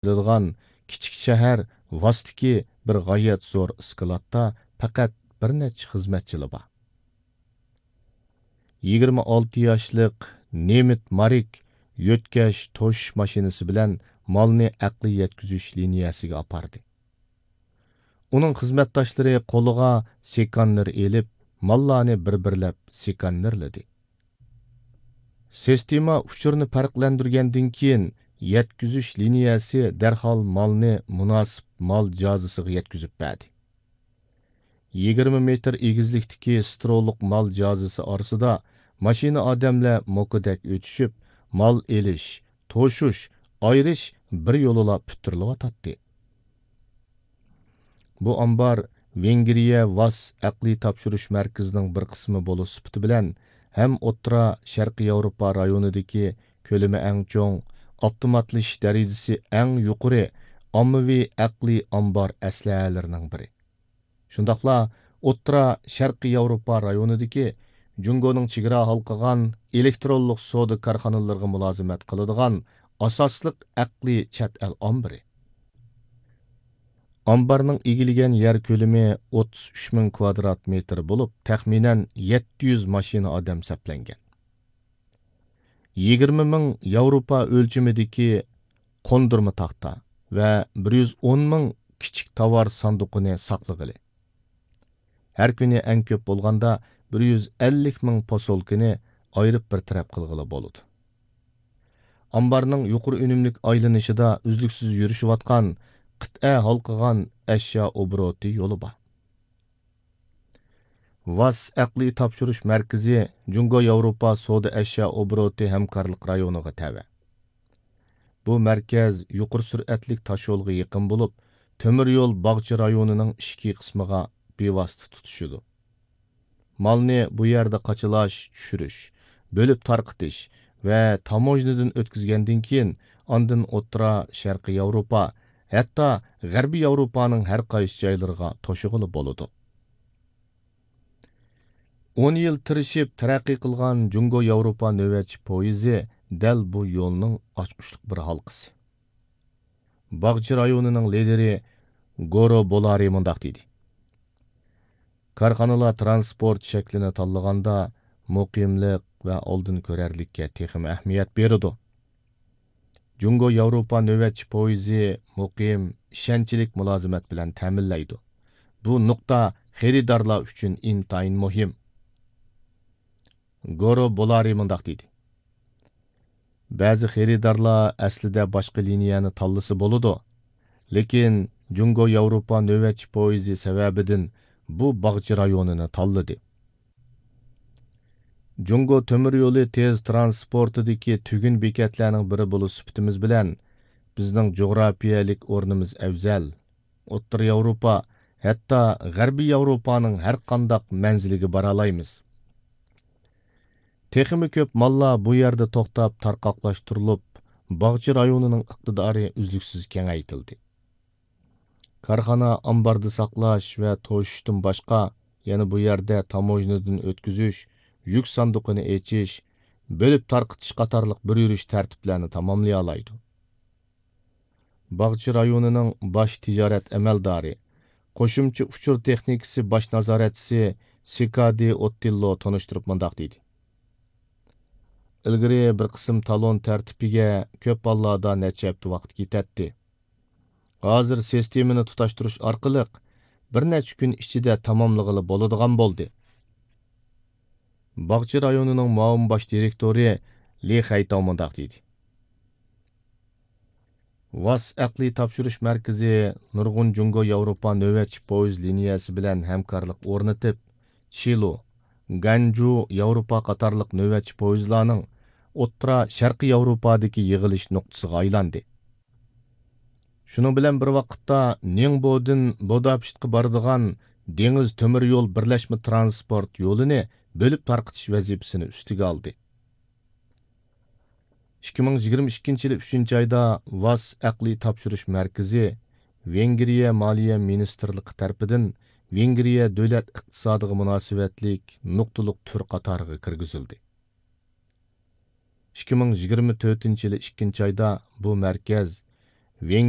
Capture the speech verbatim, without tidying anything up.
كېلىدىغان كىچىك شەھەر ۋاستىكى بىر غايەت زور ئىسكىلاتتا پەقەت بىر نەچچە خىزمەتچىلا بار. يىگىرمە ئالتە ياشلىق نېمىت مارىك يۆتكەش توشۇش ماشىنىسى بىلەن مالنى ئەقلىي يەتكۈزۈش لىنىيەسىگە ئاپاردى. ئۇنىڭ خىزمەتداشلىرى قولىغا سېكاننېر ئېلىپ، ماللارنى بىر-بىرلەپ سېكاننېرلىدى. سىستېما ئۇچۇرنى پەرقلەندۈرگەندىن كېيىن، يەتكۈزۈش لىنىيەسى دەرھال مالنى مۇناسىپ مال جازىسىغا يەتكۈزۈپ بەردى. يىگىرمە مېتىر ئېگىزلىكتىكى سترولۇق مال جازىسى ئارىسىدا ماشىنا ئادەملەر موكىدەك ئۆتۈشۈپ، مال ئېلىش، توشۇش، ئايرىش بىر يولىلا پۈتتۈرۈلۈۋاتاتتى. بۇ ئامبار ۋېنگرىيە ۋاس ئەقلىي تاپشۇرۇش مەركىزىنىڭ بىر قىسمى بولۇش سۈپىتى بىلەن ھەم ئوتتۇرا شەرقىي ياۋروپا رايونىدىكى كۆلىمى ئەڭ چوڭ، ئاپتوماتلىشىش دەرىجىسى ئەڭ يۇقىرى ئاممىۋى ئەقلىي ئامبار ئەسلىھەلىرىنىڭ بىرى. شۇنداقلا ئوتتۇرا شەرقىي ياۋروپا رايونىدىكى جۇڭگونىڭ چېگرا ھالقىغان ئېلېكترونلۇق سودا كارخانىلىرىغا مۇلازىمەت قىلىدىغان ئاساسلىق ئەقلىي چەت ئەل ئامبىرى. ئامبارنىڭ ئىگىلىگەن يەر كۆلىمى ئوتتۇز ئۈچ مىڭ كۋادرات مېتىر بولۇپ، تەخمىنەن يەتتە يۈز ماشىنا ئادەم سەپلەنگەن. يىگىرمە مىڭ ياۋروپا ئۆلچىمىدىكى قوندۇرما تاختا ۋە بىر يۈز ئون مىڭ كىچىك تاۋار ساندۇقىنى ساقلىغىلى. ھەر كۈنى ئەڭ كۆپ بولغاندا بىر يۈز ئەللىك مىڭ پوسۇلكىنى ئايرىپ بىر تەرەپ قىلغىلى بولىدۇ. ئامبارنىڭ يۇقىرى ئۈنۈملۈك ئايلىنىشىدا ئۈزلۈكسىز يۈرۈشۈۋاتقان قىتئە ھالقىغان ئەشيا ئوبوروتى يولى بار. ۋاس ئەقلىي تاپشۇرۇش مەركىزى جۇڭگو ياۋروپا سودا ئەشيا ئوبوروتى ھەمكارلىق رايونىغا تەۋە. بۇ مەركەز يۇقىرى سۈرئەتلىك تاشيولغا يېقىن بولۇپ، تۆمۈر يول باغچە رايونىنىڭ ئىچكى قىسمىغا بىۋاسىتە تۇتىشىدۇ. مالنى بۇ يەردە قاچىلاش، چۈشۈرۈش، بۆلۈپ تارقىتىش ۋە تاموژنىدىن ئۆتكۈزگەندىن كېيىن، ئاندىن ئوتتۇرا شەرقىي ياۋروپا، ھەتتا غەربىي ياۋروپانىڭ ھەر قايسى جايلىرىغا توشۇغىلى بولىدۇ. ئون يىل تىرىشىپ تەرەققىي قىلغان جۇڭگو ياۋروپا نۆۋەتچى پويىزى دەل بۇ يولنىڭ ئاچقۇچلۇق بىر ھالقىسى. باغچە رايونىنىڭ لىدىرى گورو بولارى مۇنداق دېدى: كارخانىلار تىرانسپورت شەكلىنى تاللىغاندا مۇقىملىق ۋە ئالدىن كۆرەرلىككە تېخىمۇ ئەھمىيەت بېرىدۇ. جۇڭگو ياۋروپا نۆۋەتچى پويىزى مۇقىم، ئىشەنچلىك مۇلازىمەت بىلەن تەمىنلەيدۇ. بۇ نۇقتا خېرىدارلار ئۈچۈن ئىنتايىن مۇھىم. گورو بولارى مۇنداق دېدى: بەزى خېرىدارلار ئەسلىدە باشقا لىنىيەنى تاللىسا بولىدۇ، لېكىن جۇڭگو ياۋروپا نۆۋەتچى پويىزى سەۋەبىدىن بۇ باغچە رايونىنى تاللىدى. جۇڭگو تۆمۈر يولى تېز تىرانسپورتىدىكى تۈگۈن بېكەتلەرنىڭ بىرى بولۇش سۈپىتىمىز بىلەن، بىزنىڭ جۇغراپىيەلىك ئورنىمىز ئەۋزەل. ئوتتۇرا ياۋروپا، ھەتتا غەربىي ياۋروپانىڭ ھەر قانداق مەنزىلىگە بارالايمىز. تېخىمۇ كۆپ ماللار بۇ يەردە توختاپ تارقاقلاشتۇرۇلۇپ، باغچە رايونىنىڭ ئىقتىدارى ئۈزلۈكسىز كېڭەيتىلدى. كارخانا ئامباردا ساقلاش ۋە توشۇشتىن باشقا، يەنە بۇ يەردە تاموژنىدىن ئۆتكۈزۈش، يۈك ساندۇقىنى ئېچىش، بۆلۈپ تارقىتىش قاتارلىق بىر يۈرۈش تەرتىپلەرنى تاماملىيالايدۇ. باغچە رايونىنىڭ باش تىجارەت ئەمەلدارى، قوشۇمچە ئۇچۇر تېخنىكىسى باش نازارەتچىسى سىكادى ئوتتىللو تونۇشتۇرۇپ مۇنداق دېدى: ئىلگىرى بىر قىسىم تالون تەرتىپىگە كۆپ ھاللاردا نەچچە ھەپتە ۋاقىت كېتەتتى. ھازىر سىستېمىنى تۇتاشتۇرۇش ئارقىلىق بىر نەچچە كۈن ئىچىدە تاماملىغىلى بولىدىغان بولدى. باغچە رايونىنىڭ مۇئاۋىن باش دىرېكتورى لى خەيتاۋ مۇنداق دېدى: ۋاس ئەقلىي تاپشۇرۇش مەركىزى نۇرغۇن جۇڭگو ياۋروپا نۆۋەتچى پويىز لىنىيەسى بىلەن ھەمكارلىق ئورنىتىپ، چىلۇ، گانجۇ ياۋروپا قاتارلىق نۆۋەتچى پويىزلارنىڭ ئوتتۇرا شەرقىي ياۋروپادىكى يىغىلىش نۇقتىسىغا ئايلاندى. شۇنىڭ بىلەن بىر ۋاقىتتا، نىڭبودىن بۇداپېشتقا بارىدىغان دېڭىز تۆمۈر يول بىرلەشمە تىرانسپورت يولىنى بۆلۈپ تارقىتىش ۋەزىپىسىنى ئۈستىگە ئالدى. ئىككى مىڭ يىگىرمە ئىككىنچى يىلى ئۈچىنچى ئايدا ۋاس ئەقلىي تاپشۇرۇش مەركىزى ۋېنگرىيە مالىيە مىنىستىرلىقى تەرىپىدىن ۋېنگرىيە دۆلەت ئىقتىسادىغا مۇناسىۋەتلىك نۇقتىلىق تۈر قاتارىغا كىرگۈزۈلدى. ئىككى مىڭ يىگىرمە تۆتىنچى يىلى ئىككىنچى ئايدا بۇ مەركەز ۋېنگرىيە